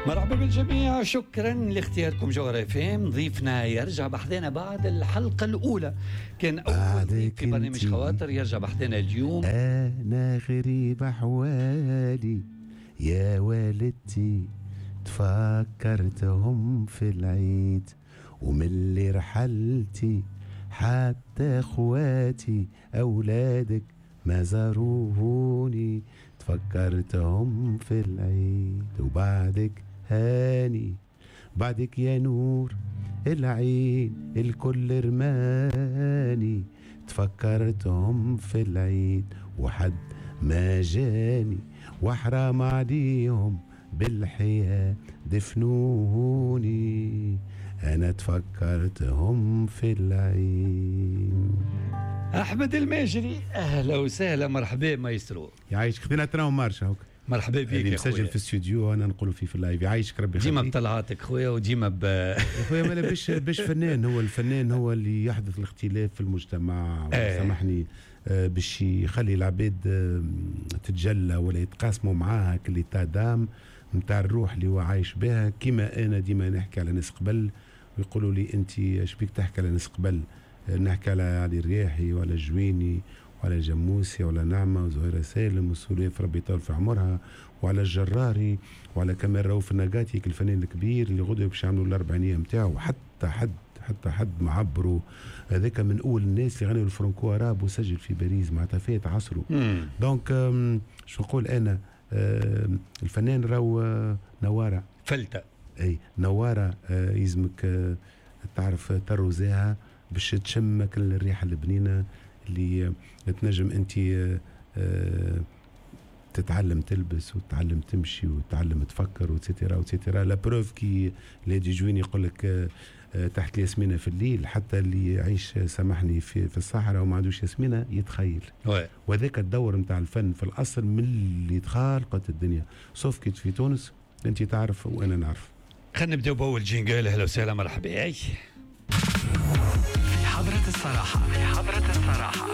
مرحبا بالجميع، شكرا لاختياركم جوهرة اف ام. ضيفنا يرجع بحذانا بعد الحلقة الأولى، كان أول ضيف في برنامج خواطر، يرجع بحذانا اليوم. أنا غريب أحوالي يا والدتي، تفكرتهم في العيد، ومن اللي رحلتي حتى اخواتي أولادك ما زاروني، تفكرتهم في العيد. وبعدك هاني، بعدك يا نور العين الكل رماني، تفكرتهم في العيد وحد ما جاني، وحرام عليهم بالحياة دفنوني، أنا تفكرتهم في العين. أحمد الماجري، أهلا وسهلا، مرحبا مايسترو. يعيشك، خذينا train marche هوك. مرحبا بك يا خويا. مسجل في الاستوديو وانا نقولوا فيه في ال live. يعيشك ربي يخليك. ديما بطلعاتك خويا وديما خويا مالا باش فنان، هو الفنان هو اللي يحدث الاختلاف في المجتمع. سامحني، باش يخلي العباد تتجلى ولا يتقاسموا معاها كل l'état d'âme نتاع الروح اللي هو عايش بها. كيما انا ديما نحكي على ناس قبل ويقولوا لي انت اش بيك تحكي على ناس قبل، نحكي على علي الرياحي ولا الجويني وعلى الجموسي وعلى نعمة وزهيرة سالم وسوليف ربي يطول في عمرها، وعلى الجراري وعلى كمال رؤوف النقاتي الفنان الكبير اللي غدوة باش يعملوا الأربعينية نتاعو، حتى حد ما عبروا. هذاك من أول الناس اللي غنوا ال franco-arabe وسجل في باريس معناتها فات عصره. donc شو نقول أنا، الفنان راهو نوارة فلتة، أي نوارة، يلزمك تعرف تروزاها باش تشمك الريحة البنينة اللي تنجم انت تتعلم تلبس وتتعلم تمشي وتتعلم تفكر et cetera et cetera. la preuve كي لادي جوين يقول لك تحت الياسمينه في الليل، حتى اللي يعيش سامحني في الصحراء وما عندوش ياسمينه يتخيل. وذاك الدور نتاع الفن في الاصل من اللي تخالقت الدنيا، sauf que في تونس انت تعرف وانا نعرف. خلينا نبداو باول jingle. اهلا وسهلا، مرحبا. في حضرة الصراحة، في حضرة الصراحة.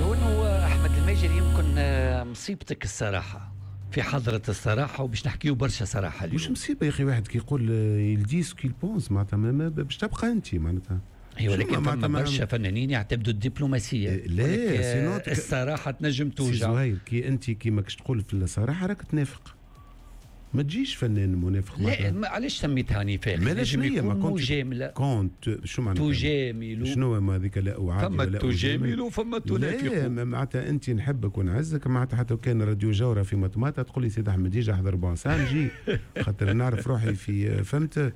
لو أنه أحمد الماجري يمكن مصيبتك الصراحة في حضرة الصراحة، وباش نحكيو برشا صراحة اليوم. مش مصيبة يا أخي، واحد كي يقول il dit ce qu'il pense معناتها باش تبقى أنت معناتها. ايوه، لكن فما برشا فنانين يعتمدوا الدبلوماسية. لا، الصراحة تنجم توجع. زهير كي أنت كي ماكش تقول في الصراحة راك تنافق، ما تجيش فنان منافق. لا، علاش سميتها نفاق؟ لازم يكون مجاملة. كونت شو معناتها؟ تجامل. شنو ما هذيك؟ لا أعادي فما تجامل وفما تنافق. لا، معناتها أنت نحبك ونعزك، معناتها حتى كان راديو جورة في مطماطة تقول لي سيد أحمد يجي أحضر ربع ساعة نجي، خاطر نعرف روحي في فهمت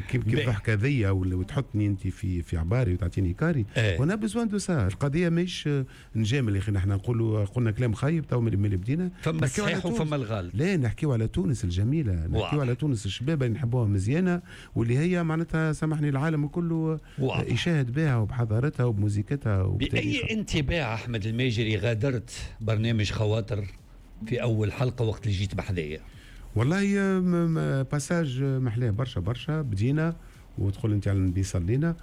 كيف ضحكة ذي وتحطني أنت في عباري وتعطيني carré. on a besoin de ça. القضية ماهيش نجامل يا أخي، نحن نقولوا قلنا كلام خايب تو من اللي بدينا. فما الصحيح وفما الغلط. لا، نحكيو على تونس الجميلة، نحكيو على تونس الشباب اللي نحبوها مزيانة، واللي هي معناتها سامحني العالم كله يشاهد بها وبحضارتها وبموزيكتها. بأي انطباع أحمد الماجري غادرت برنامج خواطر في أول حلقة وقت اللي جيت بحذايا؟ والله passage محلاه برشا برشا. بدينا وتقول انت على النبي صلينا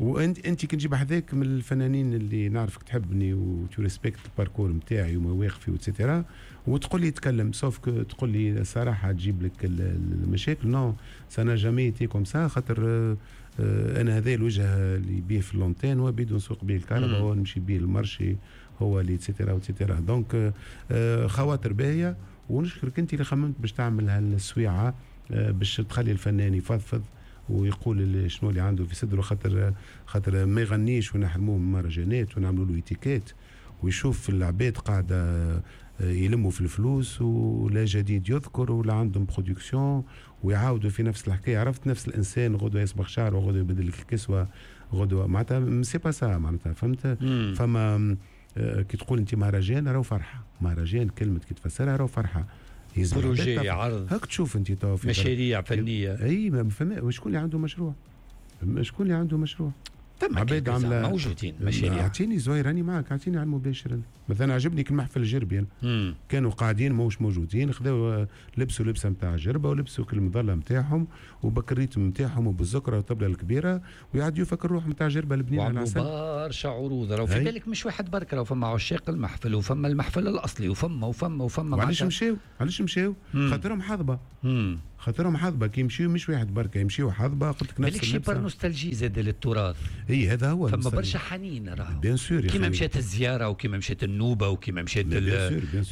وانت كي نجيب حذاك من الفنانين اللي نعرفك تحبني و tu respectes ال parcours نتاعي ومواقفي et cetera، وتقول لي تكلم، sauf que تقول لي صراحة تجيب لك المشاكل. non ça n'a jamais été comme ça، خاطر انا هذا الوجه اللي بيه في l'antenne هو بيدو نسوق بيه الكهرباء، هو نمشي بيه ال marché، هو اللي et cetera et cetera. donc خواطر باهيه، ونشكرك انت اللي خممت باش تعمل هالسويعه باش تخلي الفنان يفضفض ويقول شنو اللي عنده في صدره، خاطر ما يغنيش ونحرموه من مهرجانات ونعملوا له étiquette، ويشوف العباد قاعدة يلموا في الفلوس ولا جديد يذكر ولا عندهم production ويعاودوا في نفس الحكاية. عرفت نفس الانسان غدوه يصبغ شعره وغدوه يبدل لك الكسوة غدوه، معناتها c'est pas ça معناتها فهمت. فما كي تقول انت مهرجان راهو فرحه، مهرجان كلمة كي تفسرها راهو فرحه، projet، عرض، هاك تشوف انت تو في مشاريع فنية. اي ما فما شكون اللي عنده مشروع؟ شكون اللي عنده مشروع؟ عباد عامله موجودين مشاريع. اعطيني زهير راني معك، اعطيني على المباشر. مثلا عجبني المحفل الجربي أنا. كانوا قاعدين موش موجودين، خذاو لبسوا لبسه نتاع جربه ولبسوا كل المظلة نتاعهم وبك ال rythme نتاعهم وبالزكره والطبله الكبيرة ويعديوا فك الروح نتاع جربه البنينه على العسل. برشا عروض راهو في بالك مش واحد برك، راهو فما عشاق المحفل وفما المحفل الاصلي وفما وفما وفما. علاش مشاو؟ علاش مشاو؟ خاطرهم حظبه. خاطرهم حظبه كي يمشيو مش واحد بركة، يمشيو حظبه. قلت لك نفس بالك par nostalgie زاد للتراث. اي هذا هو. فما برشا حنين راهو. bien sûr كيما مشات الزيارة وكيما مشات النوبة وكيما مشات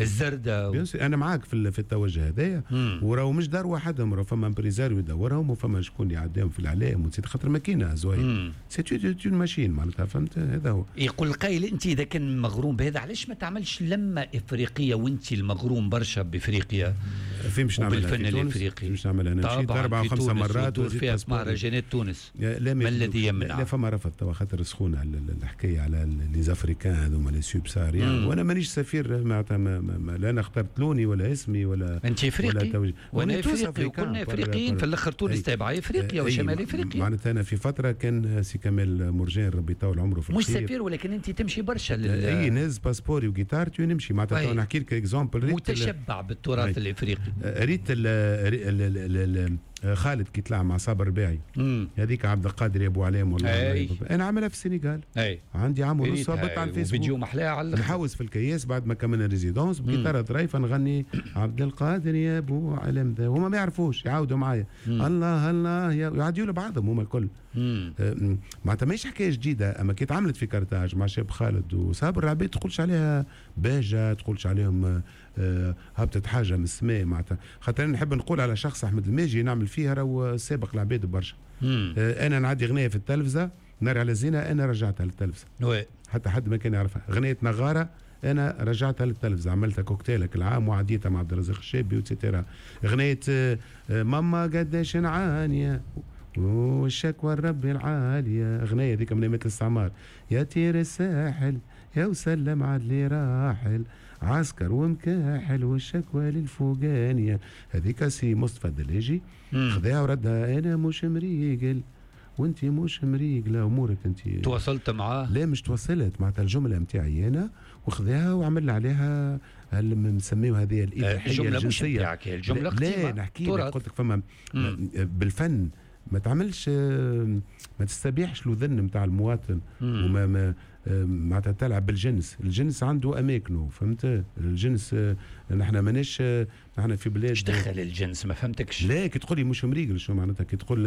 الزرده bien sûr انا معاك في التوجه هذايا. وراهو مش دار وحدهم، راهو فما impresario يدورهم وفما شكون يعديهم في الاعلام وتزيد خاطر ماكينة زوين c'est une machine معناتها، فهمت؟ هذا هو. يقول القائل انت اذا كان مغروم بهذا علاش ما تعملش لمه افريقية وانت المغروم برشا بافريقيا؟ فين باش نعملها؟ بالفن الافريقي باش نعملها انا مشيت 4 و5 مرات وزيد فيها مهرجانات تونس. لا ما الذي يمنع؟ لا فما رفض توا خاطر سخونة الحكاية على les Africains هذوما les subsahariens، وانا مانيش سفير معناتها، لا انا اخترت لوني ولا اسمي ولا انت افريقي وانا افريقي وكنا افريقيين في الاخر. تونس تابعه افريقيا وشمال افريقيا. معناتها انا في فترة كان سي كمال مرجان ربي يطول عمره في الخير، مش سفير ولكن انت تمشي برشا اي نهز passeport ي وجيتارتي ونمشي معناتها. نحكي لك exemple متشبع بالتراث الافريقي. ريت خالد كي طلع مع صابر رباعي هذيك عبد القادر يا ابو علام والله انا عاملها في السنغال. عندي عام ونص هبط على الفيسبوك فيديو محلاه على نحوس في الكياس بعد ما كملنا résidence بجيتاره ظريفة نغني عبد القادر يا ابو علام، هما ما يعرفوش يعاودوا معايا الله الله يعديوا لبعضهم هما الكل. معناتها ماهيش حكاية جديدة، اما كي تعملت في كرتاج مع شاب خالد وصابر العباد تقولش عليها باجه، تقولش عليهم هبطت حاجة من السماء معناتها. خاطر انا نحب نقول على شخص احمد الماجي نعمل فيها راهو سابق العباد برشا. انا نعدي غنية في التلفزة نار على زينة، انا رجعتها للتلفزه حتى حد ما كان يعرفها. غنية نغاره انا رجعتها للتلفزه، عملتها كوكتيلك العام وعديتها مع عبد الرزاق الشابي و et cetera. غنية ماما قداش نعانيه والشكوى الرب العالية، اغنية ذيك من ايامات الاستعمار، يا تير الساحل يا وسلم عدلي راحل عسكر ومكاحل والشكوى للفوقانيه، هذيك سي مصطفى الدلاجي خذاها وردها انا مش مريقل وانت مش مريقله امورك انت. تواصلت معاه؟ لا مش تواصلت، معناتها الجملة نتاعي انا وخذاها وعمل عليها نسميو هذه الاباحية الجنسية. الجملة مش الجملة لا نحكي لك قلت لك فما بالفن ما تعملش، ما تستبيحش الوذن نتاع المواطن وما معناتها تلعب بالجنس. الجنس عنده اماكنه، فهمت؟ الجنس نحن ماناش، نحن في بلاد. ايش دخل الجنس؟ ما فهمتكش. لا كي تقول لي مش مريقل شو معناتها؟ كي تقول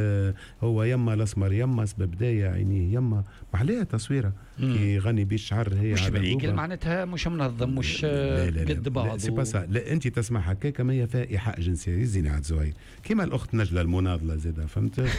هو يما الاسمر يما سبب دايا عينيه يما، محلاها تصويره كي يغني بيه الشعر هي مش مريقل معناتها مش منظم مش قد بعض. c'est pas ça. لا انت تسمع هكاك ما هي فيها ايحاء جنسي يزيني عاد زهير كيما الاخت نجله المناضلة زاده، فهمت؟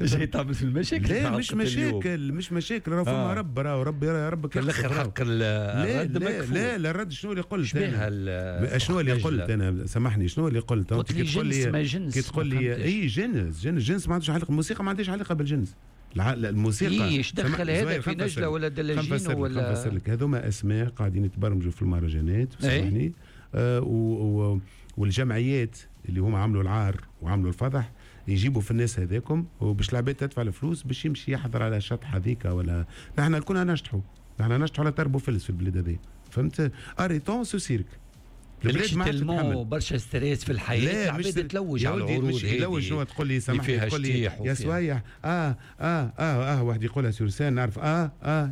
جاي تعمل في المشاكل. لا مش مشاكل، مش مشاكل، راه فما رب، راه ربي ربك في الاخر حق الرد. لا لا لا الرد شنو اللي قلت انا؟ شنو اللي قلت انا؟ سامحني شنو اللي قلت؟ قلت لي جنس ما جنس. كي تقول لي اي جنس جنس جنس ما عندوش علاقة، الموسيقى ما عندهاش علاقة بالجنس. الموسيقى ايش دخل هذا في نجله ولا دلاجين ولا؟ نفسر لك، هذوما اسماء قاعدين يتبرمجوا في المهرجانات سامحني والجمعيات اللي هما عملوا العار وعملوا الفضح يجيبوا في الناس هذاكم وباش العباد تدفع الفلوس باش يمشي يحضر على شطح هذيك. ولا نحن كنا نشطحوا، نحن نشطحوا على تربو فلس في البلاد هذه، فهمت؟ arrêtons ce cirque. البلاد ما عادش تتحمل برشا stress في الحياة، العباد تلوج على العروض هذه. تلوج شنو تقول لي؟ سامحني تقول لي يا سوايح واحد يقولها sur scène نعرف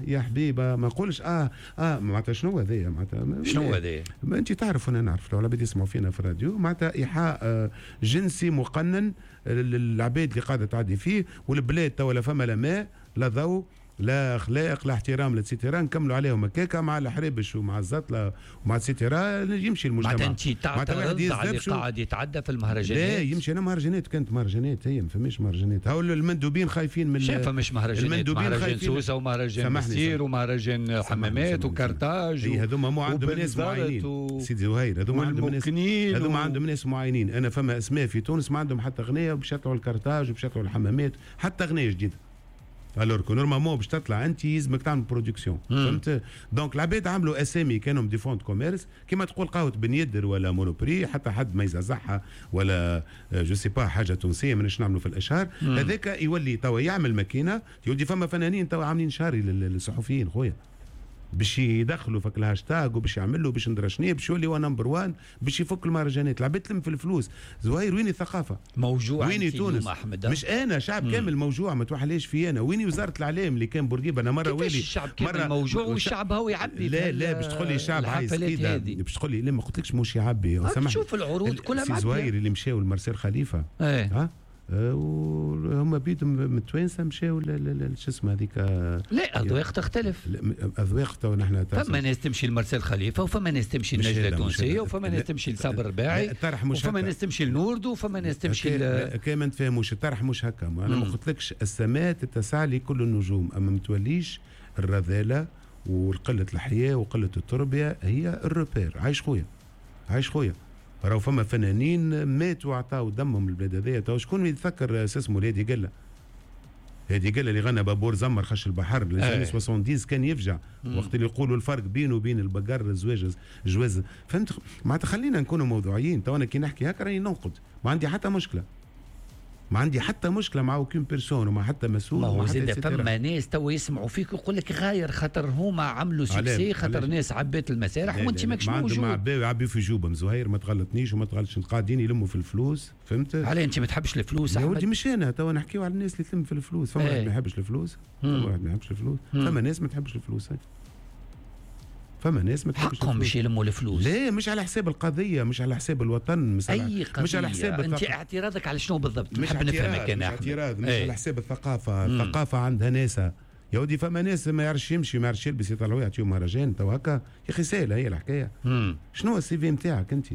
يا حبيبه ما نقولش معناتها شنو هذايا؟ معناتها شنو هذايا؟ انت تعرف وانا نعرف، لو العباد يسمعوا فينا في الراديو معناتها ايحاء جنسي مقنن للعباد اللي قاعدة تعدي فيه. والبلاد توا لا فما لا ماء لا ضوء لا اخلاق لا احترام لا et cetera، نكملوا عليهم هكاكا مع الحرابش ومع الزطله ومع et cetera يمشي المجتمع. معناتها انت تعترض على اللي قاعد يتعدى في المهرجانات؟ لا يمشي. انا مهرجانات كانت مهرجانات، هي ما فماش مهرجانات. هاو المندوبين خايفين من شاف فماش مهرجانات، مهرجان سوسة ومهرجان مسير ومهرجان حمامات وكرتاج. هذوما مو عندهم ناس معينين سيدي زهير، هذوما عندهم ناس، هذوما عندهم ناس معينين. انا فما اسماء في تونس ما عندهم حتى غنية وباش يطلعوا الكرتاج وباش يطلعوا الحمامات، حتى غنية جديدة. alors que normalement باش تطلع انت يلزمك تعمل production، فهمت؟ donc العباد عملوا اسامي كانوا des fonds de commerce، كيما تقول قهوة بن يدر ولا مونوبري، حتى حد ما يزعزعها ولا je sais pas حاجة تونسية ماناش نعملوا في الاشهار. هذاك يولي توا يعمل ماكينه، يولي فما فنانين توا عاملين شهري للصحفيين خويا باش يدخلوا فك الهاشتاج وباش يعملوا باش ندرى شنية، باش يولي هو number 1 باش يفك المهرجانات. العباد تلم في الفلوس. زهير وين الثقافة؟ موجوع. وين تونس؟ أحمد. مش انا، شعب كامل موجوع، ما توحليش في انا. وين وزارة الاعلام اللي كان بورقيبة؟ انا مرة والي الشعب كامل موجوع والشعب هو يعبي. لا لا باش تقول لي الشعب عايز كده، باش تقول لي لا ما قلتلكش مش يعبي. سامحني، شوف العروض كلها معبيه. زهير اللي مشاو لمارسيل خليفة ها وهم بيدهم من التوانسة مشاو شو اسمه هذيك. لا اذواق تختلف. اذواق تو نحن فما ناس تمشي لمارسيل خليفة، وفما ناس تمشي لنجله التونسية، وفما ناس تمشي لصابر الرباعي، وفما ناس تمشي لنوردو، وفما ناس تمشي كي ما نتفاهموش الطرح مش هكا. انا ما قلتلكش السماء تتسع لكل النجوم، اما ما توليش الرذاله وقلة الحياة وقلة التربية هي ال repère. عايش خويا، عايش خويا، راهو فما فنانين ماتوا وعطاو دمهم للبلاد هذايا. تو شكون يتذكر اسمه الهادي قلة؟ هادي قلة اللي غنى بابور زمر خش البحر les années 70 كان يفجع وقت اللي يقولوا الفرق بينه وبين البقر الزواج جواز، فهمت؟ معناتها خلينا نكونوا موضوعيين. تو انا كي نحكي هكا راني ننقد، ما عندي حتى مشكلة، ما عندي حتى مشكلة مع aucune personne ومع حتى مسؤول. ما هو زاد فما ناس تو يسمعوا فيك ويقول لك غاير خاطر هما عملوا succès، خاطر ناس عبات المسارح وانت ماكش موجود. ما عندهم يعبيو في جوبهم زهير، ما تغلطنيش وما تغلطش، قاعدين يلموا في الفلوس، فهمت؟ علاه انت ما تحبش الفلوس يا ولدي؟ مش انا تو نحكيو على الناس اللي تلم في الفلوس. فما واحد ما يحبش الفلوس، فما واحد ما يحبش الفلوس، فما ناس ما تحبش الفلوس، فما ناس ما تحبش. حقهم باش يلموا الفلوس. لا مش على حساب القضية، مش على حساب الوطن، مش على قضية. مش على حساب انت اعتراضك على شنو بالضبط؟ مش نفهمك انا. مش اعتراض، مش على حساب الثقافة. الثقافة عندها ناسها يا ودي. فما ناس ما يعرفش يمشي، ما يعرفش يلبس، يطلعوا يعطيهم مهرجان تو هكا. يا اخي سهلة هي الحكاية. شنو هو ال CV نتاعك انت؟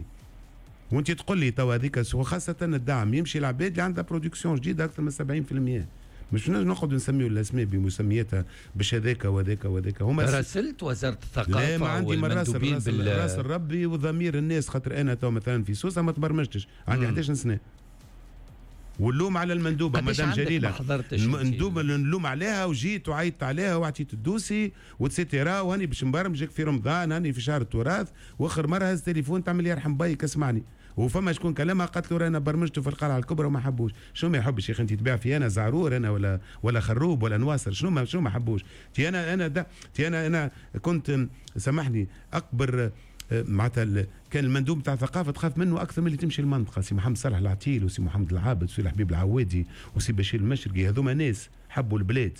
وانت تقول لي تو هذيك، وخاصة الدعم يمشي العباد اللي عندها production جديدة اكثر من 70%. مش نقعد نسميو الاسماء بمسمياتها باش هذاك وهذاك وهذاك. هما راسلت وزارة الثقافة؟ لا ما عندي من راس الربي وضمير الناس، خاطر انا تو مثلا في سوسة ما تبرمجتش، عندي 11 سنة واللوم على المندوبه مدام جليلة، المندوبه اللي نلوم عليها وجيت وعيطت عليها وعطيت ال dossier و et cetera، وهاني باش نبرمجك في رمضان، هاني في شهر التراث، واخر مرة هز تليفون تعمل يرحم بايك اسمعني. وفما شكون كلامها قالت له رانا برمجته في القلعة الكبرى وما حبوش. شنو ما يحبش يا اخي؟ انت تبيع في انا زعرور انا ولا خروب ولا نواصر، شنو ما حبوش؟ تي انا انا ده تي انا انا كنت سامحني اكبر معناتها كان المندوب تاع الثقافة تخاف منه اكثر من اللي تمشي المنطقة، سي محمد صالح العتيل وسي محمد العابد وسي الحبيب العوادي وسي بشير المشرقي، هذوما ناس حبوا البلاد،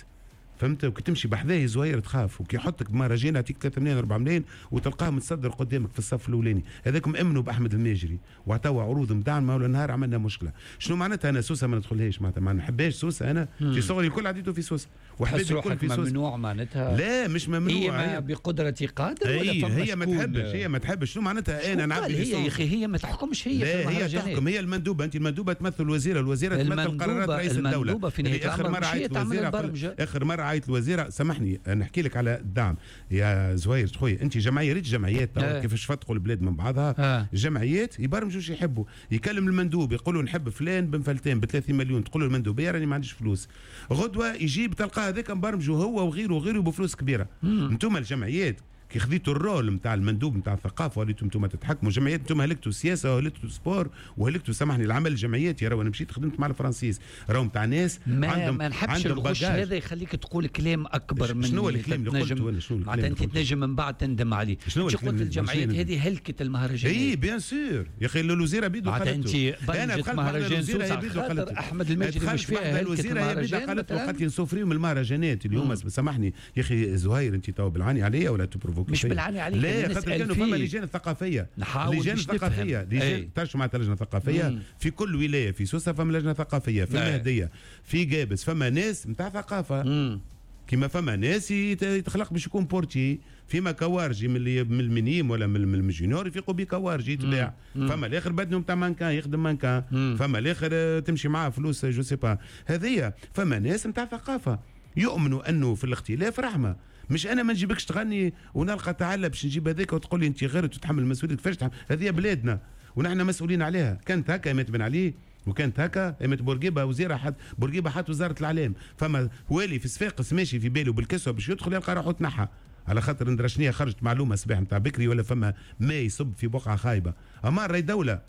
فهمت؟ وكي تمشي بحذاه زهير تخاف، وكي يحطك بمهرجان يعطيك 3 ملايين 4 ملايين وتلقاه متصدر قدامك في الصف الاولاني. هذاكم امنوا باحمد الماجري وعطاو عروض مدعمه، ولا نهار عملنا مشكلة. شنو معناتها انا سوسة ما ندخلهاش؟ معناتها ما نحبهاش سوسة، انا في صغري الكل عديته في سوسة وحبيت الكل في سوسة. ممنوع معناتها؟ لا مش ممنوع، هي بقدره قادر ولا هي ما تحبش، هي ما تحبش. شنو معناتها انا نعبي هي يا اخي؟ هي ما تحكمش، هي لا هي تحكم، هي المندوبه. انت المندوبه تمثل الوزيرة، الوزيرة تمثل قرارات رئيس الدولة. اخر مرة عيط الوزيرة، اخر مرة عيط الوزيرة، سامحني نحكي لك على الدعم يا زهير خويا. انت جمعية، ريت جمعيات كيفاش فتقوا البلاد من بعضها. جمعيات يبرمجوا شو يحبوا، يكلم المندوب يقولوا نحب فلان بن فلتان ب 30 مليون، تقول له المندوبيه راني ما عنديش فلوس. غدوه يجيب تلقاه هذاك مبرمجوا هو وغيره وغيره بفلوس كبيرة. انتم الجمعيات كي خذيتوا ال rôle نتاع المندوب نتاع الثقافة وليتوا انتم تتحكموا. جمعيات انتم هلكتوا السياسة وهلكتوا ال sport وهلكتوا سامحني العمل الجمعياتي. راهو انا مشيت خدمت مع الفرنسيس، راهو نتاع ناس عندهم ما نحبش الغش هذا يخليك تقول كلام اكبر من شنو الكلام اللي قلته انا؟ شنو معناتها انت تنجم من بعد تندم عليه. شنو قلت الجمعيات هذه هلكت المهرجانات؟ اي bien sûr يا اخي الوزيرة بيدو قالت. انت انا دخلت مهرجان سوسة احمد الماجري مش فيها هلكت المهرجان، قالت لي نسوفريو من المهرجانات اليوم. سامحني يا اخي زهير، انت تو بالعاني عليا ولا ت provoquer؟ مش بالعاني عليك. لا خاطر كانوا فما لجان ثقافية، لجان ثقافية، لجان تعرف معناتها لجنة ثقافية في كل ولاية، في سوسة فما لجنة ثقافية، في المهدية، في قابس فما ناس نتاع ثقافة. كيما فما ناس يتخلق باش يكون portier، فيما كوارجي من ال minimes ولا من ال juniors يفيقوا بيه كوارجي يتباع، فما الاخر بدنه نتاع مانكان يخدم مانكان، فما الاخر تمشي معاه فلوس je sais pas. هذيا فما ناس نتاع ثقافة يؤمنوا انه في الاختلاف رحمه. مش انا ما نجيبكش تغني ونلقى تعالى باش نجيب هذاك وتقول لي انت غيرت وتتحمل المسؤولية. كيفاش تحمل؟ هذه بلادنا ونحن مسؤولين عليها. كانت هكا مات بن علي وكانت هكا ايمت بورقيبة وزيره، حد بورقيبة حط وزارة الاعلام، فما والي في صفاقس ماشي في باله بالكسوه باش يدخل يلقى روحه تنحى على خاطر ندرا شنية، خرجت معلومة صباح نتاع بكري ولا فما ما يصب في بقعة خايبة. اما راهي دولة،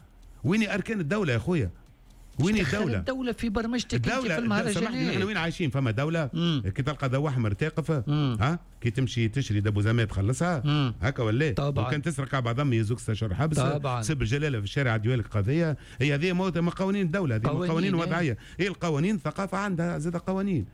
وين اركان الدولة يا خويا؟ وين الدولة؟ الدولة في برمجتك انت في المهرجانات. نحن وين عايشين؟ فما دولة كي تلقى ضوء احمر تقف، ها كي تمشي تشري دبوزامات تخلصها هكا ولا؟ طبعا. وكان تسرق على بعضهم يزوك 6 حبس. طبعا. سب الجلاله في الشارع ديالك قضية، هي هذه قوانين الدولة، هذه قوانين وضعية، هي القوانين ثقافة عندها زاد قوانين.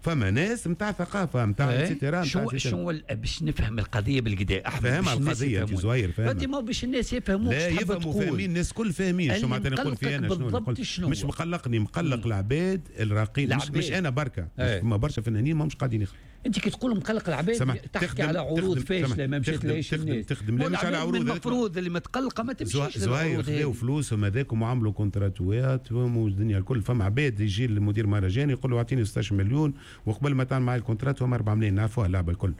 فما ناس نتاع ثقافة نتاع et cetera. شو باش نفهم القضية بالكدا احمد؟ فاهم القضية انت زهير، فاهم انت ما باش الناس يفهموك. لا يفهموا، فاهمين الناس الكل فاهمين شو معناتها نقول في انا شنو. مش مقلقني، مقلق العباد الراقين، مش انا بركة، فما برشا فنانين ماهمش قاعدين يخدموا. انت كي تقول مقلق العباد تحكي على عروض فاشلة ما مشاتلهاش الناس. تخدم لا مش على عروض، المفروض اللي متقلقه ما تمشيش. زهير خذاو فلوسهم هذاكم وعملوا كونتراتوات والدنيا الكل. فما عباد يجي المدير مهرجان يقول له اعطيني 16 مليون وقبل ما تعمل معي ال contrat هم 4 ملايين، نعرفوها اللعبة الكل.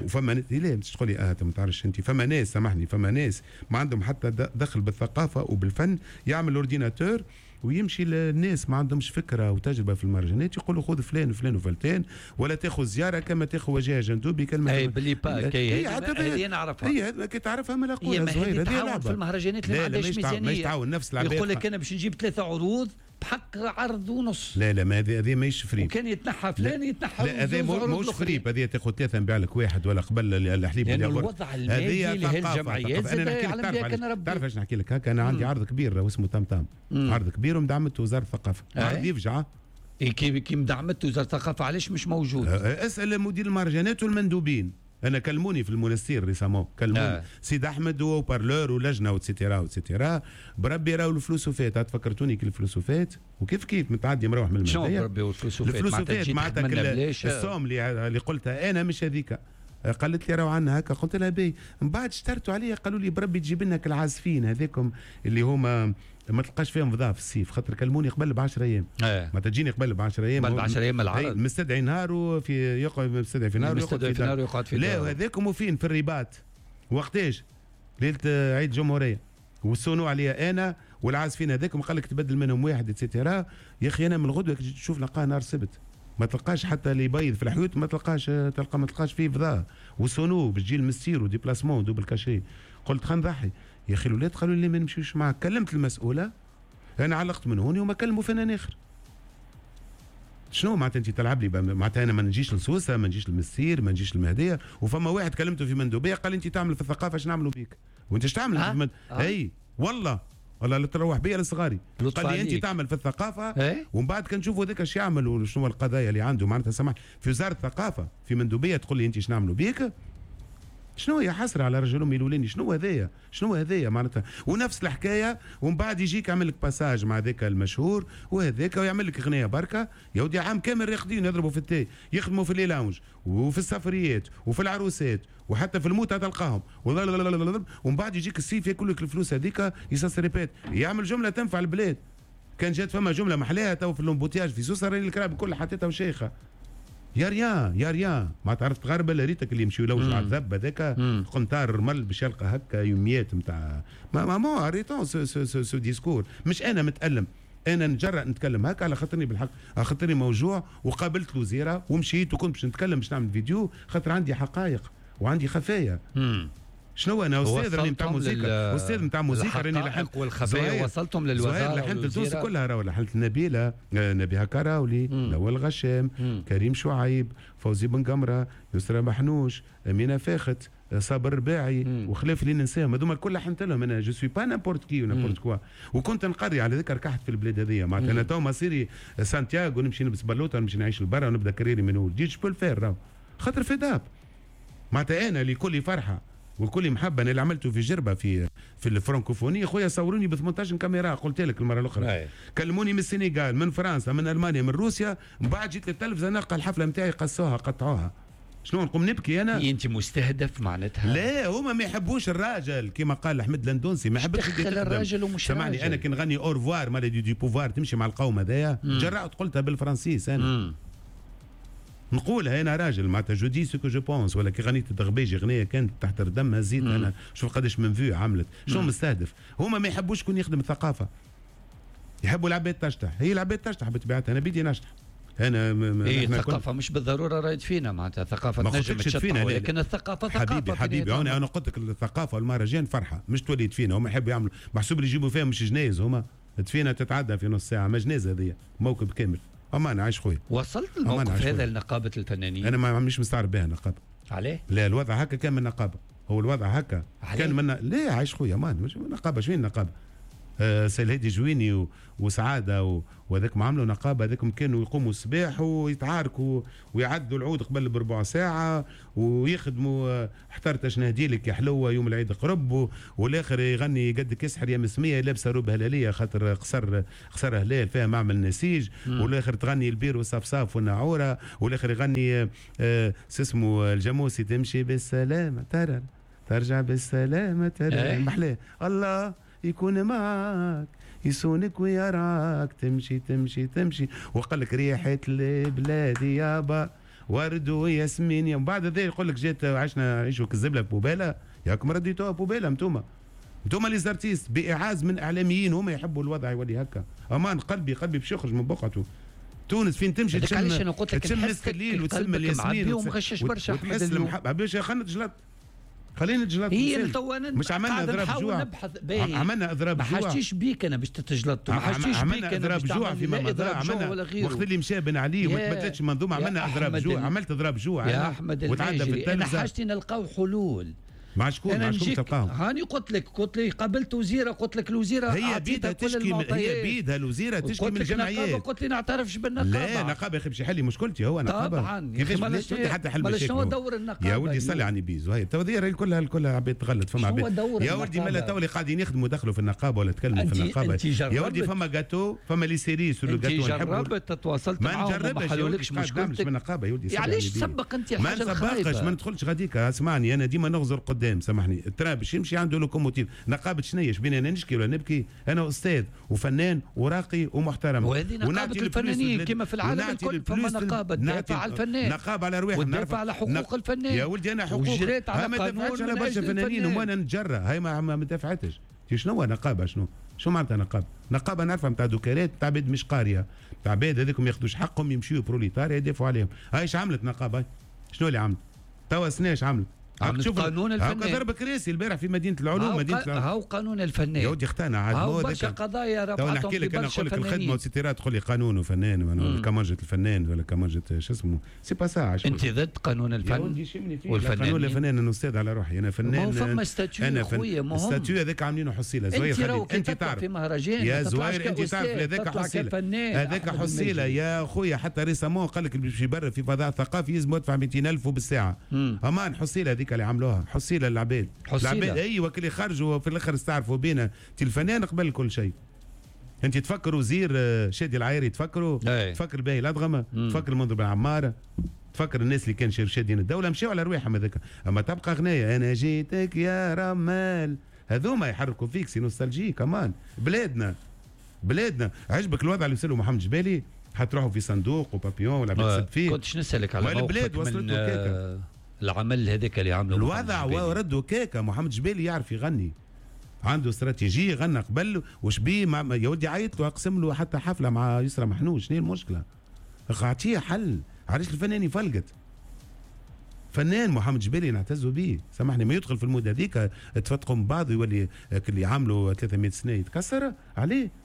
وفما ناس لا مش تقول لي ما تعرفش انت. فما ناس سامحني، فما ناس ما عندهم حتى دخل بالثقافة وبالفن، يعمل ordinateur ويمشي للناس ما عندهمش فكرة وتجربه في المهرجانات، يقولوا خذ فلان وفلان وفلتان، ولا تاخذ زيارة كما تاخذ وجهه جندوبي كلمة. اي باللي با كي هذه نعرفها، هي كي تعرفها ما نقولها زهير، هذه لعبه في المهرجانات اللي ما عندهاش ميزانية. تعاون نفس العباد، يقول لك انا باش نجيب 3 عروض بحق عرض ونص. لا لا، ما هذه ماهيش فريب. وكان يتنحى فلان يتنحى. لا هذا ماهوش فريب، هذه تاخذ 3 نبيع لك واحد ولا قبل الحليب. لأن الوضع المادي لهالجمعيات زاد يعلم بها كان ربي. تعرف اش نحكي لك هكا؟ انا عندي عرض كبير اسمه تام تام، عرض كبير ومدعمته وزارة الثقافة، عرض يفجع. كي مدعمته وزارة الثقافة علاش مش موجود؟ اسال مدير المهرجانات والمندوبين. انا كلموني في المنستير récemment، كلموني سيد احمد و parleur ولجنه و et cetera و et cetera، بربي راهو الفلوس وفات. تفكرتوني كي الفلوس وفات وكيف كيف متعدي مروح من المهدية. شنو بربي والفلوس وفات؟ الفلوس وفات معناتها ال somme اللي قلتها انا مش هذيك. قالت لي راهو عندنا هكا، قلت لها باهي. من بعد اشترتوا عليا قالوا لي بربي تجيب لنا العازفين هذاكم اللي هما ما تلقاش فيهم فضاء في الصيف، خاطر كلموني قبل ب 10 ايام. ما تجيني قبل ب 10 ايام، قبل ب 10 ايام العرض مستدعي نهار وفي يقعد مستدعي في نهار ويقعد في نهار ويقعد في لا وهذاكم وفين في الرباط وقتاش؟ ليلة عيد الجمهورية وال sono عليا انا والعازفين هذاكم، قال لك تبدل منهم واحد et cetera. يا اخي انا من الغدوه تشوف نلقاه نهار السبت، ما تلقاش حتى اللي يبيض في الحيوت، ما تلقاش، تلقى ما تلقاش فيه فضاء وال sono باش تجي المسير و déplacement double cachet. قلت خلينا نضحي يا اخي. الاولاد قالوا لي ما نمشيوش معاك. كلمت المسؤولة انا علقت من هوني وما كلموا فنان اخر. شنو معناتها انت تلعب لي؟ معناتها انا ما نجيش لسوسه، ما نجيش للمسير، ما نجيش للمهديه. وفما واحد كلمته في مندوبيه قال انت تعمل في الثقافة اش نعملوا بيك؟ وانت اش تعمل؟ اي والله والله لا تروح بيا لصغاري. قال لي انت تعمل في الثقافة ومن بعد كنشوفوا هذاك اش يعمل وشنو القضايا اللي عنده. معناتها سمح في وزارة الثقافة في مندوبيه تقول لي انت اش نعملوا بيك؟ شنو يا حسرة على رجل امي الاولاني؟ شنو هذايا؟ شنو هذايا معناتها؟ ونفس الحكاية. ومن بعد يجيك يعمل لك passage مع ذاك المشهور وهذاك ويعمل لك اغنية بركة. يا ودي عام كامل راقدين يضربوا في التاي، يخدموا في les lounges وفي السفريات وفي العروسات وحتى في الموتى تلقاهم. ومن بعد يجيك السيف ياكل لك الفلوس هذيك ça se répète، يعمل جملة تنفع البلاد. كان جات فما جملة محلاها تو في l'embouteillage في سوسة راني الكراب الكل حطيتها وشيخه. y a rien y a rien ما تعرف تغربل ريتك اللي يمشيو يلوجوا على الذب هذاك قنطار الرمل باش يلقى هكا يوميات نتاع mais arrêtons ce discours. مش انا متالم، انا نجرأ نتكلم هكا على خاطرني بالحق، على خاطرني موجوع. وقابلت الوزيرة ومشيت وكنت باش نتكلم باش نعمل فيديو خاطر عندي حقائق وعندي خفايا. شنو انا استاذ راني نتاع موسيقى، استاذ نتاع موسيقى راني لحنت والخفايا وصلتهم للوزارة. لحنت تونس كلها راهو، لحنت نبيلة، نبيهه كراولي، نوال غشام، كريم شعيب، فوزي بن قمره، يسرى محنوش، امينه فاخت، صابر رباعي، وخلاف اللي ننساهم هذوما الكل لحنت لهم. انا je suis pas n'importe qui n'importe quoi. وكنت نقري على ذكر ركحت في البلاد هذيا. معناتها انا تو مصيري سانتياغو نمشي نلبس بلوطه ونمشي نعيش لبرا ونبدا carrière من اول جديد. je peux le faire راهو خاطر fed up. معناتها انا لكل فرحه وكل محبة انا اللي عملته في جربه في الفرنكوفونيه خويا صوروني ب 18 كاميرا، قلت لك المرة الاخرى. كلموني من السنغال، من فرنسا، من المانيا، من روسيا. من بعد جيت للتلفزه نلقى الحفلة نتاعي قصوها قطعوها. شنو نقوم نبكي انا؟ انت مستهدف معناتها؟ لا هما ما يحبوش الراجل كما قال احمد لندونسي، ما يحبش الراجل ومش سامحني انا كي نغني au revoir maladie du pouvoir تمشي مع القوم هذايا. جرأت قلتها بالفرنسيس انا. نقولها انا راجل معناتها je dis ce que je pense. ولا كي غنيت الدغبيجي غنية كانت تحت الدم هزيت انا شوف قداش من vues عملت. شنو مستهدف؟ هما ما يحبوش شكون يخدم الثقافة. يحبوا العباد تشطح، هي العباد تشطح بطبيعتها، انا بيدي نشطح. انا إيه الثقافة مش بالضرورة راهي تفينا، معناتها الثقافة تنجم تشطح، ولكن الثقافة ثقافة. حبيبي حبيبي انا قلت لك الثقافة والمهرجان فرحه، مش تولي تفينا. هما يحبوا يعملوا محسوب اللي يجيبوا فيها مش جنايز، هما تفينا تتعدى في نص ساعة، ما جنازه هذه موكب كامل. امان عايش خويا. وصلت الموقف هذا لنقابه الفنانين؟ انا ما مش مستعرب بها النقابة. عليه؟ لا الوضع هكا كان من النقابة، هو الوضع هكا كان من لا عايش خويا امان مش نقابة. شنو النقابة؟ سي الهادي جويني وسعادة وهذاك ما عملوا نقابة، هذاك كانوا يقوموا الصباح ويتعاركوا ويعدوا العود قبل بربع ساعة ويخدموا احترت اش نهدي لك يا حلوة يوم العيد قرب، والاخر يغني قدك يسحر يا مسميه لابسه روب هلاليه خاطر قصر هلال فيها معمل نسيج، والاخر تغني البير والصفصاف والناعوره، والاخر يغني اسمه الجاموسي تمشي بالسلامة ترى ترجع بالسلامة ترى محلاه الله يكون معك يسونك ويراك تمشي تمشي تمشي، وقال لك ريحة البلاد يابا ورد وياسمين. ومن بعد هذا يقول لك جات عشنا عيشوا كالزبله poubelle، ياكم رديتوها poubelle انتوما les artistes باعاز من اعلاميين هما يحبوا الوضع يولي هكا. امان قلبي باش يخرج من بقعته. تونس فين تمشي تشم تشم مسك الليل وتسمى الياسمين ومغشش برشا وتحس المحبة باش خلينا نتجلط، خلينا نتجلط. هي تو انا مش عملنا اضراب جوع، عملنا اضراب جوع، ما حاجتيش بيك انا باش تتجلط، ما حاجتيش بيك انا اضراب جوع فيما مضى، عملنا وقت اللي مشى بن علي وما تبدلتش المنظومة عملنا اضراب جوع، عملت اضراب جوع يا احمد الماجري. انا حاجتي نلقاو حلول. مع شكون مع شكون تلقاهم؟ هاني قلت لك قابلت وزيره، قلت لك الوزيرة هي بيدها تشكي، هي بيدها الوزيرة تشكي من الجمعيات. قلت لي نعترفش بالنقابه. لا نقابة يا اخي باش يحل لي مشكلتي هو نقابة طبعا. كيفاش حتى حل مشاكل؟ شنو دور النقابة يا ولدي؟ صلي على النبي زهير تو هذه كلها عباد تغلط. فما عباد يا ولدي مالا تو اللي قاعدين يخدموا دخلوا في النقابة ولا تكلموا في النقابة يا ولدي. فما جاتو، فما les cerises sur le gâteau. انت جربت تتواصلت معاهم وما حلولكش مشكلتك؟ بالنقابه يا ولدي. علاش تسبق انت الحاجة الخايبة؟ ما نسبقش، ما ندخلش غاديك. اسمعني انا ديما نغزر قدام، سامحني ال train باش يمشي عنده locomotive. نقابة شنية؟ شبينا انا نشكي ولا نبكي؟ انا استاذ وفنان وراقي ومحترم، وهذه نقابة الفنانين كما في العالم الكل. فما نقابة تدافع على الفنان، نقابة على رواحهم، وتدافع على حقوق الفنان يا ولدي. انا حقوق وجريت على ما قانون دافعتش على برشا فنانين وما نتجرى، هاي ما دافعتش. شنو نقابة؟ شنو معناتها نقابة؟ نقابة نعرفها نتاع دوكالات، نتاع عباد مش قارية، نتاع عباد هذوك ما ياخذوش حقهم يمشيو بروليتاريا يدافعوا عليهم. هاي اش عملت نقابة؟ شنو اللي عملت؟ توا سنة اش عملت؟ عملت قانون الفنان. ضرب كراسي البارح في مدينة العلوم، مدينة العلوم. هاو قانون الفنان يا ودي اختنا عاد. هاو برشا قضايا رفعتهم. تو نحكي لك انا، نقول لك الخدمة و et cetera تقول لي قانون وفنان كمانجة الفنان ولا كمانجة شو اسمه c'est pas ça. انت ضد قانون الفن والفنان؟ قانون الفنان انا استاذ على روحي، انا فنان. ما هو فما statut خويا، ما هو statut هذاك عاملينه حصيله زهير. انت تعرف في مهرجان يا زهير، انت تعرف هذاك حصيله، هذاك حصيله يا خويا. حتى récemment قال لك باش يبرر في فضاء ثقافي لازم يدفع 200,000 بالساعة. امان حصيله هذيك اللي عملوها، حصيله للعباد. العباد ايوه اللي خرجوا في الاخر استعرفوا بينا الفنان قبل كل شيء. انت تفكر وزير شادي العايري، تفكروا تفكر باهي الادغمه، تفكر المنذر بن عمارة، تفكر الناس اللي كان شادين الدولة مشاو على رواحهم هذاك. اما تبقى غنايه انا جيتك يا رمال، هذوما يحركوا فيك، c'est nostalgie كمان. بلادنا عجبك الوضع اللي وصله محمد جبالي؟ حتروحوا في صندوق وبابيون ولا تسد فيه. كنتش نسالك على البلاد وصلت له العمل هذاك اللي عمله الوضع وردوا كاكا. محمد جبالي يعرف يغني، عنده استراتيجية، غنى قبل وشبيه يا ودي عيط له اقسم له حتى حفلة مع يسرى محنوش. شنو المشكلة؟ اعطيه حل. علاش الفنان يفلقت؟ فنان محمد جبالي نعتزوا به، سامحني ما يدخل في ال mode هذيك تفتقوا من بعض ويولي اللي عملوا 300 سنة يتكسر عليه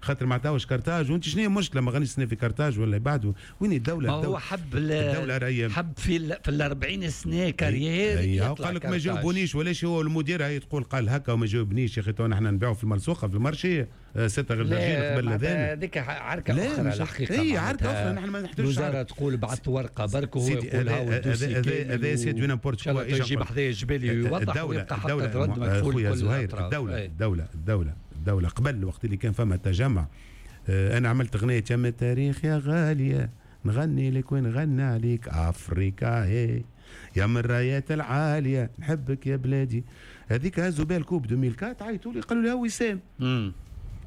خاطر ما عطاوش كارتاج. وانت شنو هي المشكلة؟ ما غنيش سنة في كارتاج ولا بعده؟ وين الدولة؟ ما هو حب الدولة راهي حب في ال 40 سنة carrière. قال لك ما جاوبونيش ولاش هو المدير هي تقول قال هكا وما جاوبنيش. يا اخي تو نحن نبيعوا في الملصوقه في ال marché 6 غير درجين قبل الاذان. هذيك عركة اخرى الحقيقة. اي عركة اخرى، نحن ما نحتاجش. الوزارة تقول بعثت ورقة برك وهو يقول هاو ال dossier هذا c'est du n'importe quoi. يجيب حذايا الجبالي ويوضح ويبقى حتى رد مكفول. خويا زهير، الدولة الدولة الدولة الدولة قبل الوقت اللي كان فما تجمع، أنا عملت أغنية يا التاريخ يا غالية نغني لك ونغني عليك أفريكا هي يا من الرايات العالية نحبك يا بلادي. هذيك هزوا بها ال coupe 2004، عيطوا لي قالوا لي هو وسام.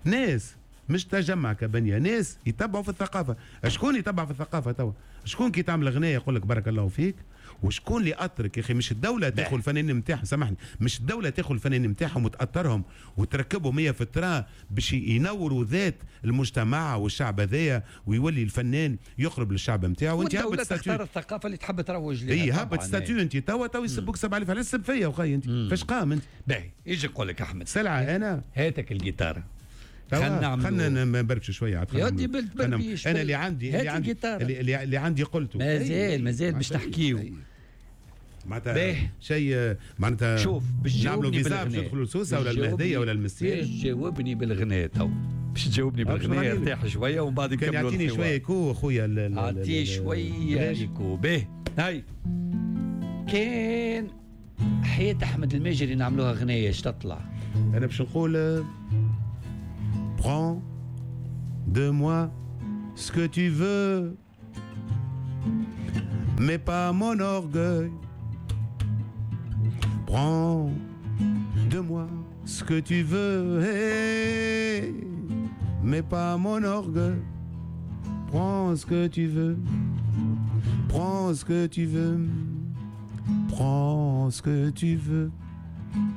ناس مش تجمع كبنيه، ناس يتبعوا في الثقافة. شكون يتبع في الثقافة توا؟ شكون كي تعمل غنايه يقول لك بارك الله فيك؟ وشكون اللي اطرك يا اخي؟ مش الدولة تاخذ الفنانين نتاعهم، سامحني، مش الدولة تاخذ الفنانين نتاعهم وتاطرهم وتركبهم هي في ال train باش ينوروا ذات المجتمع والشعب هذايا، ويولي الفنان يقرب للشعب نتاعو. وانت هبط تختار الثقافة اللي تحب تروج لها. اي هبط statut انت توا يسبوك 7000، علاش تسب فيا وخي انت؟ فاش قام انت؟ باهي يجي يقول لك احمد سلعه انا هاتك الجيتار، خلينا نبربش شوية عاد. يا ودي بالتبربيش، انا اللي عندي اللي عندي اللي عندي قلته، مازال باش تحكيو معناتها شيء، معناتها شوف باش نعملوا فيزا باش ندخلوا لسوسه ولا المهدية ولا المسير. باش تجاوبني بالغناء تو، باش تجاوبني بالغناء ارتاح شوية ومن بعد نكملوا. كان يعطيني شوية écho خويا، اعطيه شوية écho. باهي هاي كان حياة احمد الماجري نعملوها غنايه اش تطلع؟ انا باش نقول prends de moi ce que tu veux, mais pas mon orgueil. Prends de moi ce que tu veux, hey, mais pas mon orgueil. Prends ce que tu veux, prends ce que tu veux, prends ce que tu veux,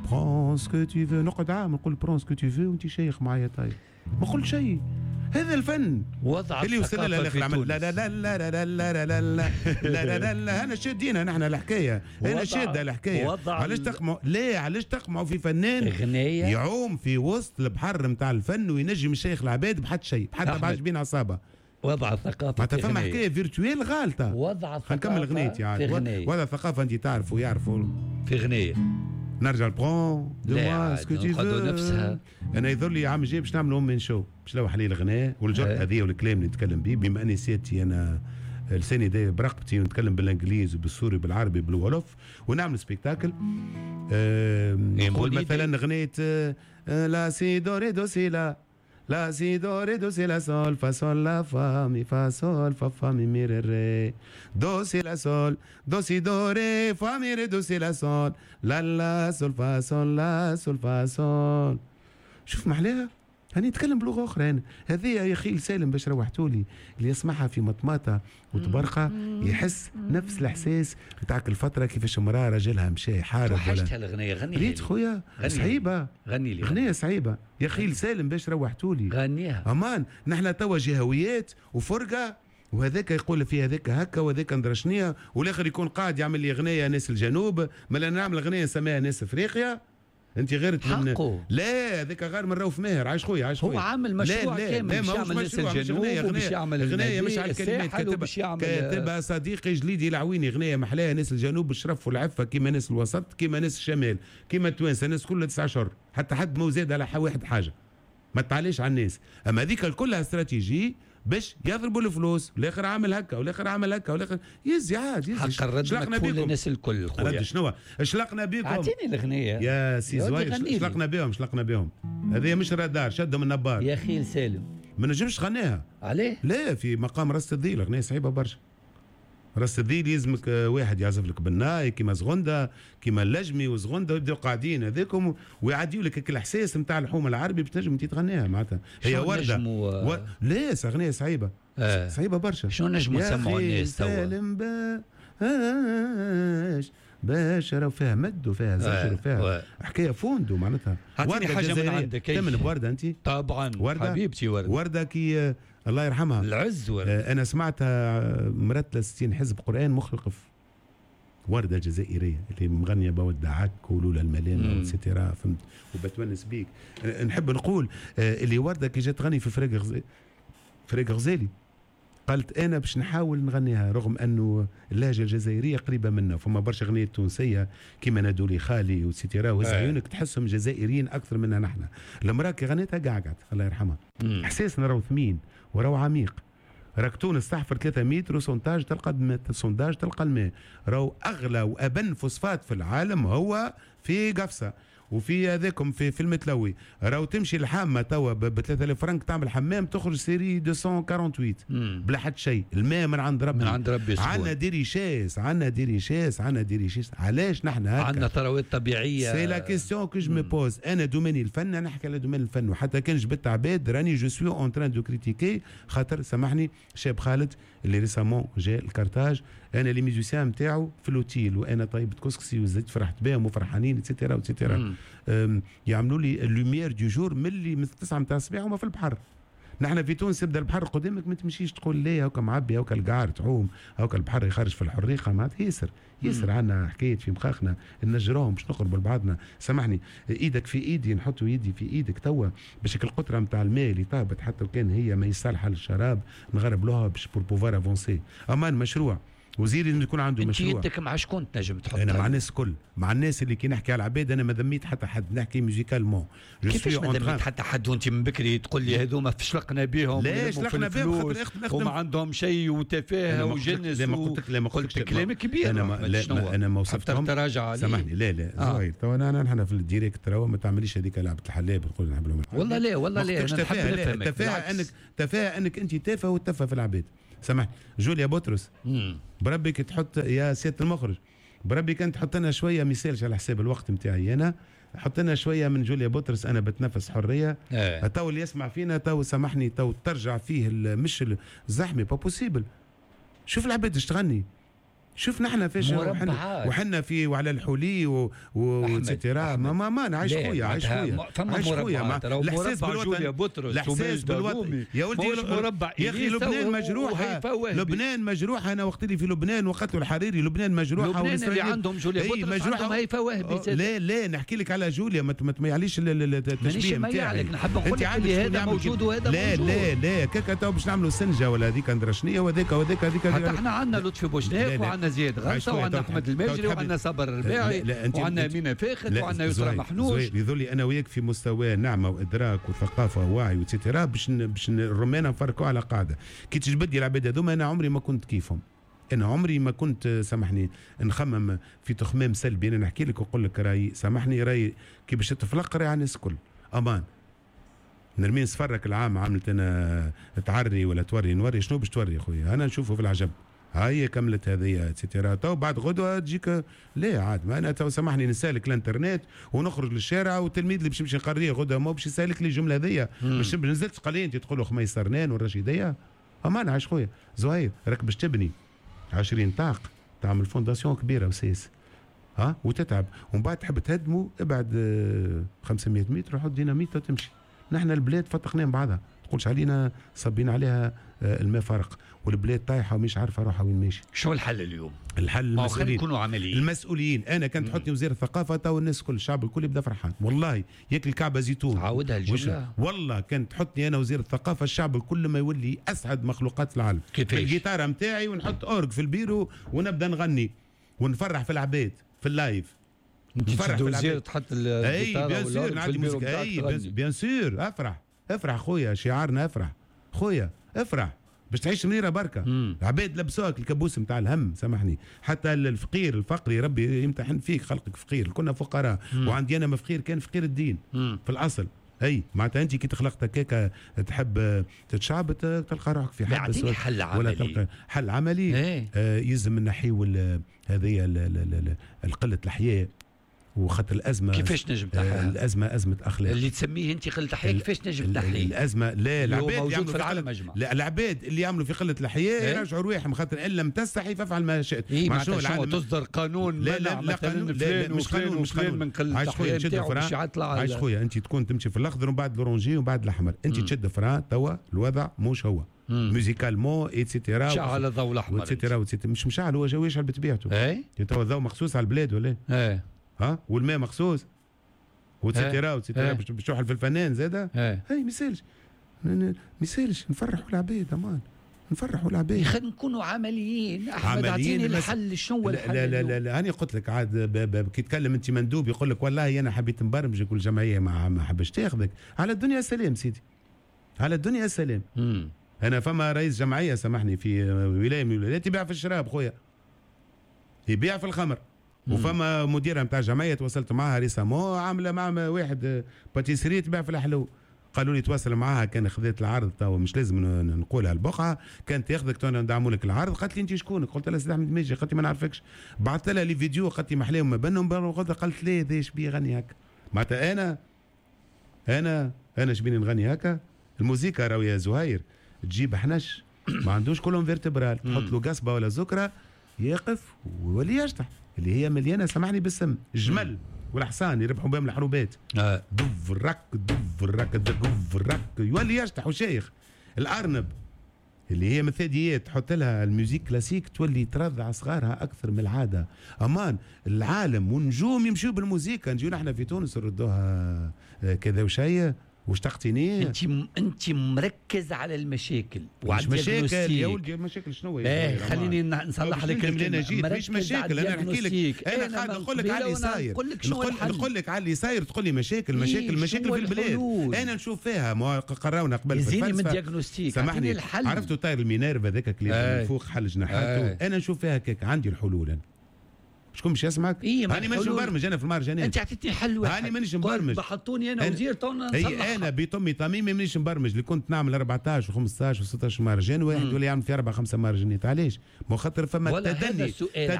prends ce que tu veux. نقعد عام نقول prends ce que tu veux وانت شيخ معايا. طيب ما قلت شيء، هذا الفن وضع اللي وصلنا للاخر. لا لا لا لا لا لا لا لا لا لا لا، انا شادينها نحن الحكاية، انا شاده الحكاية. علاش تقمعوا؟ لا علاش تقمعوا في فنان يعوم في وسط البحر نتاع الفن وينجم الشيخ العباد بحد شيء، حتى بعد بين عصابة. وضع الثقافة معناتها فما حكاية virtuelle غالطه. وضع الثقافة، نكمل غنيتي عاد. وضع الثقافة انت تعرفوا يعرفوا في غنية. نرجع prends de moi ce que tu veux. نفسها. انا يظهر لي عام الجاي باش نعملوا one man show، باش نلوح عليه الغناء والجرأه هذه والكلام اللي نتكلم به، بما اني سيادتي انا لساني داير برقبتي ونتكلم بالانجليز وبالسوري وبالعربي بالولف، ونعمل spectacle. نقول مثلا غنية la si do ré do si la la si do ré do si la sol fa sol la fa mi fa sol fa fa mi mi ré ré do si la sol do si do ré fa mi ré do si la sol la la sol fa sol la sol fa sol. شوف محلاها، هاني نتكلم بلغه اخرى انا. هذه يا خيل سالم باش روحتولي، اللي يسمعها في مطماطه وتبرقه يحس نفس الاحساس نتاعك الفترة كيفاش امراة راجلها مشى يحارب. وحشتها الغنية، غنيها ريت خويا صعيبة، غني لي غنية صعيبة يا خيل سالم باش روحتولي، غنيها امان. نحن توا جهويات وفرقه، وهذاك يقول في هذاك هكا وهذاك ندرى شنيا، والاخر يكون قاعد يعمل لي غنية ناس الجنوب، مالا نعمل غنية نسميها ناس افريقيا. انت غير من لا هذاك غير من روف ماهر. عايش خويا، عايش خويا، هو عامل مشروع كامل باش يعمل ناس الجنوب وباش يعمل غنايه مش على الكلمات، كاتبها صديقي جليدي العويني، غنايه محلاها ناس الجنوب بالشرف والعفة كيما ناس الوسط كيما ناس الشمال كيما التوانسة، الناس كلها 9 اشهر حتى حد ما زاد على واحد حاجة، ما تعليش على الناس. اما هذيك كلها استراتيجي باش يضربوا الفلوس، والاخر عامل هكا والاخر عامل هكا والاخر يزي عاد يزي. حق الرد مكفول للناس الكل خويا. رد شنو؟ شلقنا بكم. اعطيني الغنية يا سي زوير، شلقنا بهم، شلقنا بهم. هذه مش رادار، شدهم النبار يا خيل سالم. ما نجمش غناها. عليه؟ لا، في مقام راس الذيل غنية صعيبة برشا. راس الذيل يلزمك واحد يعزف لك بالناي كيما زغنده كيما اللجمي وزغنده، ويبداو قاعدين هذاكم ويعديوا لك الاحساس نتاع الحومه العربي باش تنجم انت تغنيها معناتها. هي ورده لا اغنية صعيبة صعيبة برشا. شنو نجموا نسمعوا الناس توا؟ سالم باش باش راهو فيها مد وفيها زجر وفيها حكاية فوندو معناتها. اعطيني حاجة من عندك. تمن بورده انت؟ طبعا وردة؟ حبيبتي ورده. ورده كي الله يرحمها العز ورده. انا سمعتها مرتله 60 حزب قران مخلقف، ورده جزائرية اللي مغنيه بودعك ولولا الملامه et cetera، فهمت، وبتونس بيك. نحب نقول اللي ورده كي جات تغني في فريق غزالي قالت انا باش نحاول نغنيها رغم انه اللهجة الجزائرية قريبه منا، فما برشا اغنيات تونسية كيما نادولي خالي و et cetera وهز عيونك تحسهم جزائريين اكثر منا نحن. المراة كي غنيتها قعقعت الله يرحمها. احساسنا راهو ثمين وراهو عميق. راك تونس تحفر 3 متر و sondage تلقى sondage تلقى الماء. راهو اغلى وابن فوسفات في العالم هو في قفصه، وفي هذاكم في المتلوي، راهو تمشي الحامه توا ب 3000 فرنك تعمل حمام تخرج série 248 بلا حد شيء. الماء من عند ربي، من عند ربي. عندنا des richesses، عندنا des richesses، عندنا des richesses. علاش نحن هكا؟ عندنا ثروات طبيعية. c'est la question que je me pose. انا domaine الفن، انا نحكي على domaine الفن، وحتى كان جبت عباد راني je suis en train de critiquer، خاطر سامحني شاب خالد اللي récemment جاء الكارتاج، انا les musiciens نتاعو في l'hôtel وانا طيبت كسكسي وزدت فرحت بهم وفرحانين et cetera et cetera. يعملوا لي lumière du jour ملي من 9 نتاع الصباح وما في البحر. نحن في تونس يبدا البحر قدامك ما تمشيش تقول ليه هاكا معبي، هاكا القعر تعوم، هاكا البحر يخرج في الحريقه، معناتها ياسر ياسر. عندنا حكاية في مخاخنا نجروهم باش نقربوا لبعضنا. سامحني ايدك في ايدي، نحطوا يدي في ايدك توا باش القطرة نتاع الماء اللي طابت حتى وكان هي ما يصالحه للشراب نغرب لها باش pour pouvoir avancer. امان مشروع، وزير لازم يكون عنده مشروع. انت يدك مع شكون تنجم تحط؟ انا مع الناس الكل، مع الناس اللي كي نحكي على العباد انا ما ذميت حتى حد، نحكي musicalement. كيفاش ما ذميت حتى حد وانت من بكري تقول لي هذوما شلقنا بهم؟ لا شلقنا بهم خاطر وما عندهم شيء وتفاهه وجنس. لا ما قلت لك، لا ما قلت لك كلام كبير. انا ما لا انا ما وصفتهم. تراجع عليه. سامحني لا لا زهير تو انا نحن في ال direct ترى ما تعمليش هذيك لعبه الحلاب نقول نحب لهم. والله لا والله لا، انا نحب نفهمك. تفاهه انك انت تافه وتفه في العباد. سامحني جوليا بطرس بربي كي تحط يا سيادة المخرج، بربي كان تحط لنا شوية مثالش على حساب الوقت نتاعي انا، حط لنا شوية من جوليا بطرس انا بتنفس حرية. تو اللي يسمع فينا تو سامحني تو ترجع فيه مش الزحمة pas possible. شوف العباد اش تغني، شوف نحن فاش وحنا في وعلى الحلي و et cetera. ما ما نعيش خويا، عايش خويا، عايش خويا. الاحساس بالوطن، الاحساس بالوطن يا ولدي. يا اخي لبنان مجروحة، لبنان مجروحة. انا وقت اللي في لبنان وقتلوا الحريري لبنان مجروحة. لبنان اللي عندهم جوليا بطرس عندهم هيفا وهبي. لا لا نحكي لك على جوليا، ما تميعليش التشبيه نتاعي. نحب نقول لك هذا موجود وهذا موجود. لا لا لا كاكا تو باش نعملوا سنجه ولا هذيك ندرا شنية وهذاك وهذاك هذيك. حتى احنا عندنا لطفي بوشناق وعندنا زياد غلطه وعندنا احمد الماجري وعندنا صابر الرباعي وعندنا امينه فاخت وعندنا يسرى محنوش. يظل انا وياك في مستوى نعمه وادراك وثقافة ووعي و et cetera باش الرومانه نفركوا على قاعدة. كي تجبد لي العباد هذوما انا عمري ما كنت كيفهم، انا عمري ما كنت سامحني نخمم في تخمام سلبي. انا نحكي لك ونقول لك رايي، سامحني رايي كي باش تفلق راي على الناس الكل. امان نرمين صفرك العام عملت انا تعري ولا توري نوري شنو باش توري خويا؟ انا نشوفه في العجب. هاي كملت هذه et cetera تو بعد غدوه تجيك لا عاد ما انا تو سامحني نسالك الانترنت ونخرج للشارع والتلميذ اللي باش يمشي نقريه غدوه ما باش يسالك لي الجملة هذيا. باش نزلت قال لي انت تقول له خميس سرنان والرشيديه. امان عايش خويا زهير راك باش تبني 20 طاق تعمل fondation كبيرة وسيس ها وتتعب ومن بعد تحب تهدمه ابعد 500 متر وحط ديناميت وتمشي. نحن البلاد فتقناها بعضها تقولش علينا صبين عليها الماء فرق والبلاد طايحة ومش عارفه روحها وين ماشي. شو الحل اليوم؟ الحل المسؤولين يكونوا عمليين. المسؤولين انا كان تحطني وزير الثقافة تو الناس كل الشعب الكل يبدا فرحان والله ياكل كعبه زيتون. عاودها الجملة. والله كان تحطني انا وزير الثقافة الشعب الكل ما يولي اسعد مخلوقات العالم. كيفاش؟ الجيتاره نتاعي ونحط orgue في البيرو ونبدا نغني ونفرح في العباد في ال live. نفرح في العباد تحط الجيتاره وال orgue في البيرو. اي bien sûr افرح افرح خويا، شعارنا افرح خويا افرح باش تعيش منيرة بركة. العباد لبسوك الكابوس نتاع الهم سامحني، حتى الفقير الفقري ربي يمتحن فيك خلقك فقير، كنا فقراء. وعندي انا ما فقير كان فقير الدين في الاصل. اي معناتها انت كي تخلقت هكاك تحب تتشعب تلقى روحك في حبس. حل عملي ولا تلقى حل عملي. يلزم نحيو هذه القلة الحياة وخاطر الازمة. كيفاش نجم تحلها؟ الازمة ازمة اخلاق اللي تسميه انت قلة الحياة. كيفاش نجم تحلية؟ الازمة لا العباد موجود في العالم اجمع. لا العباد اللي يعملوا في قلة الحياة يرجعوا رواحهم خاطر ان لم تستحي فافعل ما شئت. إيه معناتها تصدر قانون لا لا لا قانون لا مش قانون مش قانون من قلة الحياة نتاعو. عايش خويا انت تكون تمشي في الاخضر ومن بعد l'orangé ومن بعد الاحمر، انت تشد frein توا الوضع مش هو musicalement et cetera. شعل الضوء الاحمر et cetera مش مشعل هو يشعل بطبيعته. توا الضوء مخصوص على البلاد ولا ايه؟ ها والماء مخصوص و et cetera و et cetera باش توحل في الفنان زاده. هاي ما يسالش ما يسالش نفرحوا العباد امان نفرحوا العباد. خلينا نكونوا عمليين احمد اعطيني الحل. شنو هو الحل؟ لا لا لا لا انا قلت لك عاد كي تكلم انت مندوب يقول لك والله انا حبيت نبرمجك والجمعية ما حبش تاخذك. على الدنيا سلام سيدي، على الدنيا سلام. انا فما رئيس جمعية سامحني في ولاية من الولايات يبيع في الشراب خويا، يبيع في الخمر. وفما مديره نتاع جمعية تواصلت معها récemment، عامله مع واحد pâtisserie تبيع في الحلو، قالوا لي تواصل معاها كان خذيت العرض، تو مش لازم نقولها البقعه، كان تاخذك تو ندعموا لك العرض. قالت لي انت شكونك؟ قلت لها سيدي احمد ماجي. قالت لي ما نعرفكش. بعثت لها les vidéos، قالت لي محلاهم ما بنهم. قالت لي هذا شبيه يغني هكا؟ معناتها انا شبيني نغني هكا؟ الموسيقى راهو يا زهير تجيب حنش ما عندوش colonne vertébrale، تحط له قصبه ولا زكره يقف ويولي يشطح، اللي هي مليانة سامحني بالسم. الجمل والحصان يربحوا بهم الحروبات، دف رك دف رك دف رك، يولي يشطح وشيخ. الارنب اللي هي مثاديات تحط لها ال musique classique تولي ترضع صغارها اكثر من العاده. امان العالم ونجوم يمشيو بالموسيقى، نجيو نحن في تونس نردوها كذا وشيء واشتقتني. انت مركز على المشاكل. وعلى مشاكل يا ولدي، مشاكل شنو؟ ايه خليني نصلح لك. انا جيت مش مشاكل، انا نحكي لك، انا قاعد نقول لك على اللي صاير، نقول لك على اللي صاير، تقول لي مشاكل مشاكل مشاكل في البلاد. انا نشوف فيها ما قراونا قبل في الفلسفه من diagnostic. سامحني، عرفتوا طير ال minerve هذاك اللي من فوق حل جناحاته؟ انا نشوف فيها هكاك، عندي الحلول انا. شكون باش يسمعك؟ إيه؟ هاني مانيش مبرمج انا في المهرجانات. انت عطيتني حل واحد. هاني مانيش مبرمج. بحطوني انا وزير تو. اي انا بطمي طميمي مانيش مبرمج. اللي كنت نعمل 14 و15 و16 مهرجان، واحد ولا يعمل في 4 5 مهرجانات، علاش؟ ما خاطر فما تدني.